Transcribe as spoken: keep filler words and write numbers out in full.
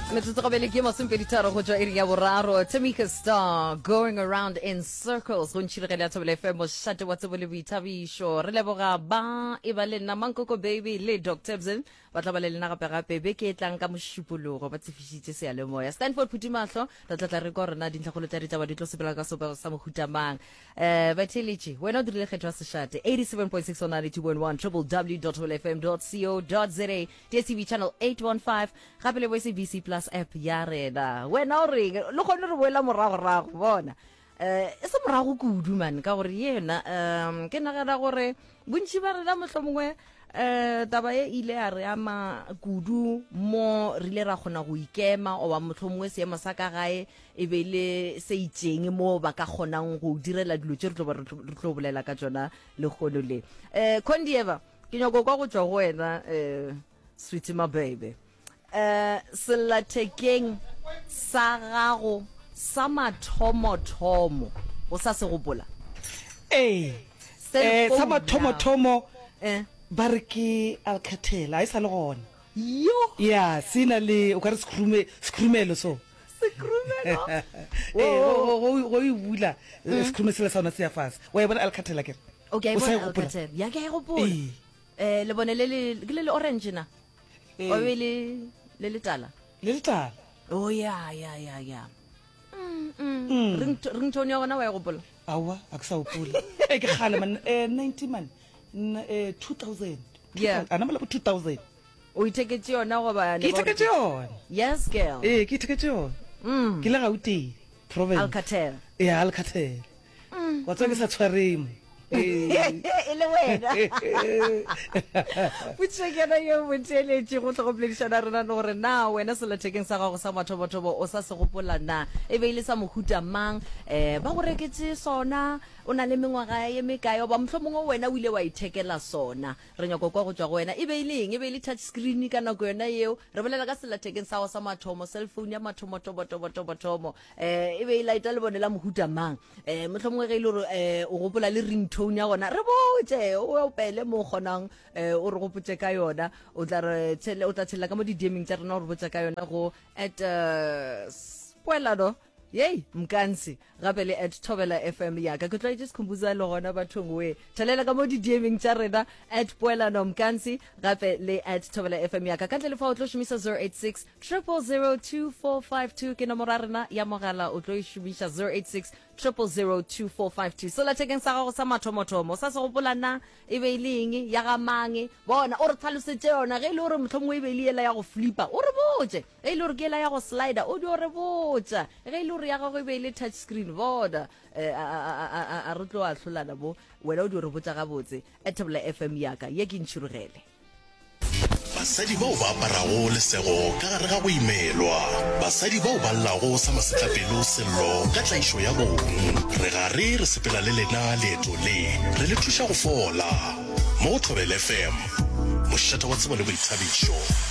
Metsotso gabele ke masomepeditharo go tšwa iri ya boraro. Tamika Star, "Going Around in Circles", go ntšhirigele ya Thobela F M, mošate wa tsebo le boithabišo. Re leboga ba e ba le nna Mankoko Baby le Doctor Bzin, ba tla ba le lena gape-gape beke e tlang ka Mošupologo, ba tsefišitše seyalemoya. Stanford Phutimahlo, re tla tla re kwa rena dintlhakgolo tša ditaba di tlo sepela ka sebopego sa mohutamang. um batheeletše, wena o dirile kgetho ya sešate eighty-seven point six on ninety-two point one, W W W co za, D S T V channel eight one five, gape le bo S A B C Plus app ya rena. Wena o reng le kgone re boela moragorago? Bona, um e se morago kudu man, ka gore yena um ke nagana gore bontši ba rena mohlho mongwe um taba e ile ya re ama kudu mo re ile ra kgona go ikema, oba mohlho mongwe seemo sa ka gae e be le se itseng mo ba ka kgonang go direla dilo tše re tlo ba re tlo re tlo bolela ka tšona lekgono le. um condieva ke nyako kwa go tšwa go wena, um sweetie, my baby, um sellathekeng sa gago sa mathomothomo o sa se gopola? Ee, eh, sa Cellphone. Mathomothomo eh ba re ke Alcatel, a e sa le gona. Yo! Ya, se na le o ka re sekhurume sekhurumelo so. Sekhurumelo. Ee, go go go e bula, eh, sekhurume sela sa ona se ya fase. Wa e bona Alcatel akere? Okay. O sa e Bona. gopola? Alcatel ya, ke a e gopola. Ee. eh le bone le le ke le le orange na? Ee. O be le le letala. Le letala. Oh, ya ya ya ya Mm, mm. Ringto- ringtone ya gona wa e gopola? Aowa, a ke sa gopola. E ke kgale man, eh ninety man, N- eh two thousand. Yeah. A namela bo two thousand. O itheketse yona goba Ke itheketse yona. Yes, girl. Ee, ke itheketse yona. Mm. Ke le Gauteng province. Alcatel. Ee, Alcatel. Wa tseba ke sa tshwareng. Ee. E le wena potšišo ke yona yeo, motheeletši, go tlo go boledišana rena le gore na wena sellathekeng sa gago sa mathomothomo o sa se gopola na, e be e le sa mohuta mang, um ba go reketse sona o na le mengwaga ye mekae, oba mohlho mongwe wena o ile wa ithekela sona. Re nyako kwa go tšwa go wena, e be e le eng, e be e le touch screen ka nako yona yeo? Re bolela ka sellathekeng sa gago sa mathomo, cellphone ya mathomothomo-tobotobotomo, um e be e laeta lebone la mohuta mang, um mohlho mongwe ge e le gore um o gopola le ringtone ya gona, re botse, o opele mo o kgonang, um o re gopotse ka yona. O tla re tshele, o tla tshelela ka mo di-D Meng tša rena, o re botsa ka yona go at uh, poelano yei Mkansi, gape le at Thobela F M yaka. Ke tlwaetše Sekhumbuza le gona bathong we. Thelela ka mo di-D Meng tša rena at Poelano Mkansi, gape le at Thobela F M yaka. Ka ntle le fa o tlo šomisa zero eight six zero zero zero two four five two, ke nomoro ya rena ya mogala, o tlo e šomiša zero eight six zero zero zero two four five two. Sellathekeng sa gago sa mathomothomo sa se gopola na, e be e le eng, ya ga mang? Bona, o re tlhalosetse yona. Ge e le gore mohlho mongwe e be e le yela ya go flipa, o re botse. Ge e le gore ke yela ya go slider, o dio re botša. Ge e le gore ya gago e be e le touch screen, bona, eh, a, a, a, a, a re tlo ahlolana bo wena, o dio re botša gabotse at Thobela F M yaka. Ye ke ntšhirogele. Basadi bao ba aparago lesego ka gare ga go imelwa, basadi bao ba llago sa masetlapelo sello ka tlaišo ya bong, re gare re sepela le lena leeto le, re le thuša go fola mo go Thobela F M, mošate wa tsebo le boithabišo.